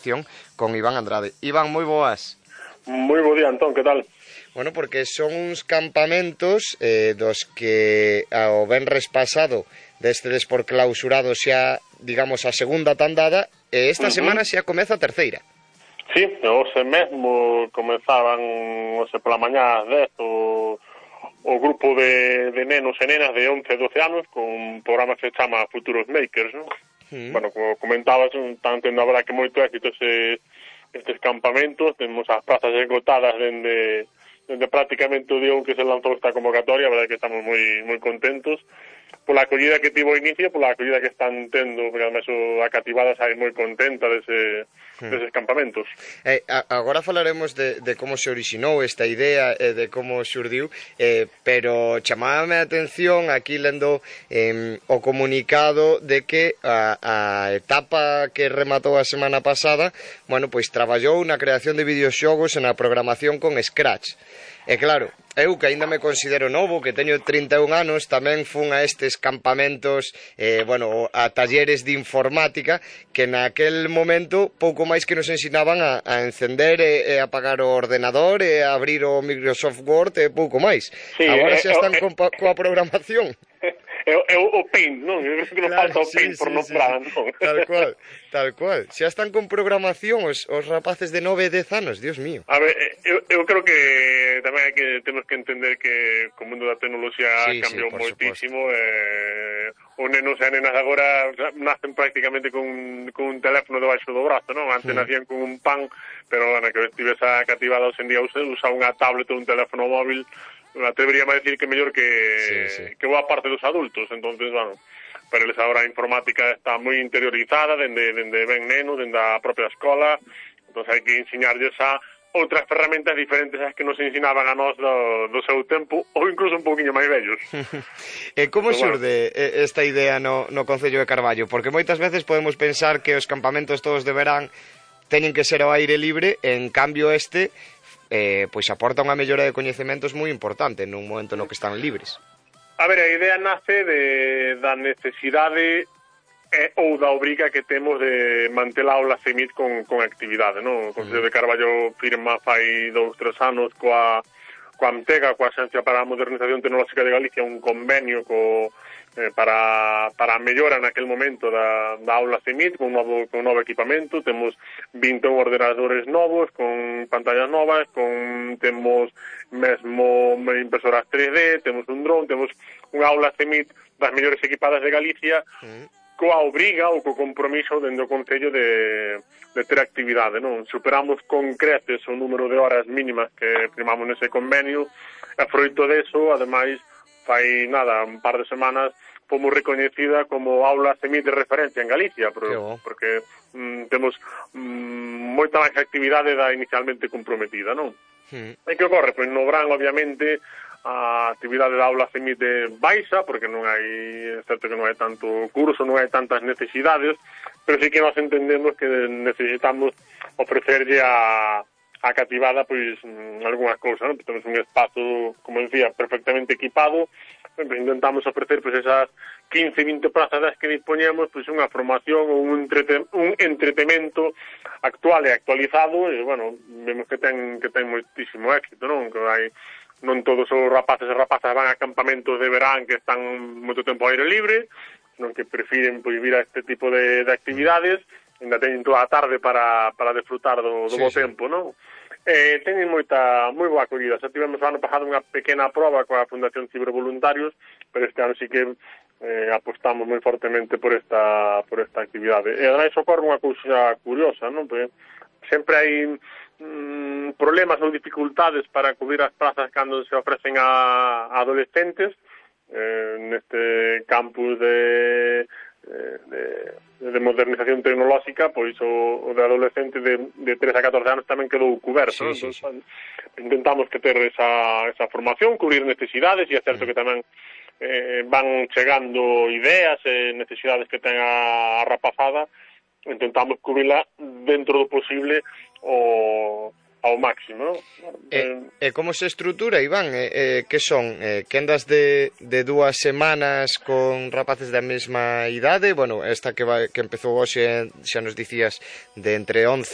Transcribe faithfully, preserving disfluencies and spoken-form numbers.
sección con Iván Andrade. Iván, moi boas. Moi bo día, Antón, que tal? Bueno, porque son uns campamentos eh, dos que ao venres pasado destedes por clausurado xa, digamos, a segunda tandada, e esta uh-huh. semana xa comeza a terceira. Sí, hoxe mesmo comezaban, hoxe pola mañá ás dez, o, o grupo de, de nenos e nenas de once e doce anos con un programa que se chama Futuros Makers, non? Uh-huh. Bueno, como comentabas, están tendo a verdad que moito éxito ese, estes campamentos, temos as prazas esgotadas dende... dende prácticamente o día un que se lanzou esta convocatoria, a verdade que estamos moi moi contentos pola acollida que tivo o inicio, pola acollida que están tendo, porque además a cativada sai moi contenta dese, hmm. deses campamentos. Eh, a, agora falaremos de, de como se orixinou esta idea e eh, de como xurdiu, eh, pero chamábame a atención aquí lendo eh, o comunicado de que a, a etapa que rematou a semana pasada, bueno, pois traballou na creación de videoxogos e na programación con Scratch. E claro, eu que aínda me considero novo, que teño trinta e un anos, tamén fun a estes campamentos, eh, bueno, a talleres de informática, que naquel momento pouco máis que nos ensinaban a, a encender e, e apagar o ordenador e a abrir o Microsoft Word e pouco máis. Sí, agora xa están eh, eh, coa programación. É o Paint, non? Eu creo que non claro, falta o Paint sí, por sí, nombrar, sí, non? Tal cual, tal cual. Xa están con programación os, os rapaces de nove e dez anos, Dios mío. A ver, eu, eu creo que tamén hai que temos que entender que o mundo da tecnoloxía sí, cambiou sí, moitísimo. Eh, os nenos e nenas agora nacen prácticamente con, con un teléfono debaixo do brazo, non? Antes mm. nacían con un pan, pero bueno, que estive esa cativada hoxe en día usa, usa unha tablet ou un teléfono móvil. Atreveríame a decir que mellor que, sí, sí. que boa parte dos adultos. Entonces, bueno, para eles agora a informática está moi interiorizada dende, dende ben neno, dende a propia escola. Entón hai que enseñarlles a outras ferramentas diferentes ás que nos ensinaban a nós do, do seu tempo, ou incluso un pouquinho máis vellos. E como xurde bueno. esta idea no, no Concello de Carballo? Porque moitas veces podemos pensar que os campamentos todos de verán teñen que ser ao aire libre, en cambio este... Eh, pois aporta unha mellora de coñecementos moi importante nun momento no que están libres. A ver, a idea nace de, da necesidade eh, ou da obriga que temos de manter a aula CEMIT con, con actividade, non? O Concello de Carballo firma fai dous, tres anos coa, coa AMTEGA, coa Axencia para a Modernización Tecnolóxica de Galicia, un convenio co Eh, para, para a mellora naquel momento da, da aula CEMIT con un novo, con un novo equipamento. Temos vinte e un ordenadores novos con pantallas novas, con temos mesmo impresoras tres D, temos un dron, temos unha aula CEMIT das mellores equipadas de Galicia, mm. coa obriga ou co compromiso dentro do Concello de, de ter actividade, non? Superamos con creces o número de horas mínimas que firmamos nese convenio, e froito deso, ademais, fai nada, un par de semanas fomos recoñecida como aula CEMIT de referencia en Galicia, pero, porque mm, temos mm, moita máis actividade da inicialmente comprometida, non? Sí. E que ocorre? Pois no verán, obviamente, a actividade da aula CEMIT de baixa, porque non hai, é certo que non hai tanto curso, non hai tantas necesidades, pero sí que nós entendemos que necesitamos ofrecerlle a a cativada, pois, algunhas cousas, non? Temos un espazo, como decía, perfectamente equipado, intentamos ofrecer, pois, esas quince, vinte prazas das que dispoñemos, pois, unha formación ou un, entrete, un entretemento actual e actualizado, e, bueno, vemos que ten, que ten moitísimo éxito, non? Que hai, non todos os rapaces e rapazas van a campamentos de verán que están moito tempo ao aire libre, non que prefiren, pois, vir a este tipo de, de actividades, ainda teñen toda a tarde para, para desfrutar do, do sí, bo sí. tempo, non? Eh, teñen moita, moi boa acollida. Xa tivemos o ano pasado unha pequena proba coa Fundación Cibervoluntarios, pero este ano sí que eh, apostamos moi fortemente por esta por esta actividade. E ademais ocorre unha cousa curiosa, non? Porque sempre hai mm, problemas ou dificultades para cubrir as plazas cando se ofrecen a, a adolescentes eh, neste campus de De, de modernización tecnolóxica, pois o, o de adolescente de, de tres a catorce anos tamén quedou cuberto, sí, sí, sí. Intentamos que ter esa, esa formación, cubrir necesidades, e é certo mm. que tamén eh, van chegando ideas e necesidades que ten a, a rapazada, intentamos cubrirla dentro do posible o ao máximo, non? E, e como se estrutura, Iván? E, e, que son? E, quendas de, de dúas semanas con rapaces da mesma idade? Bueno, esta que, vai, que empezou hoxe, xa nos dicías, de entre once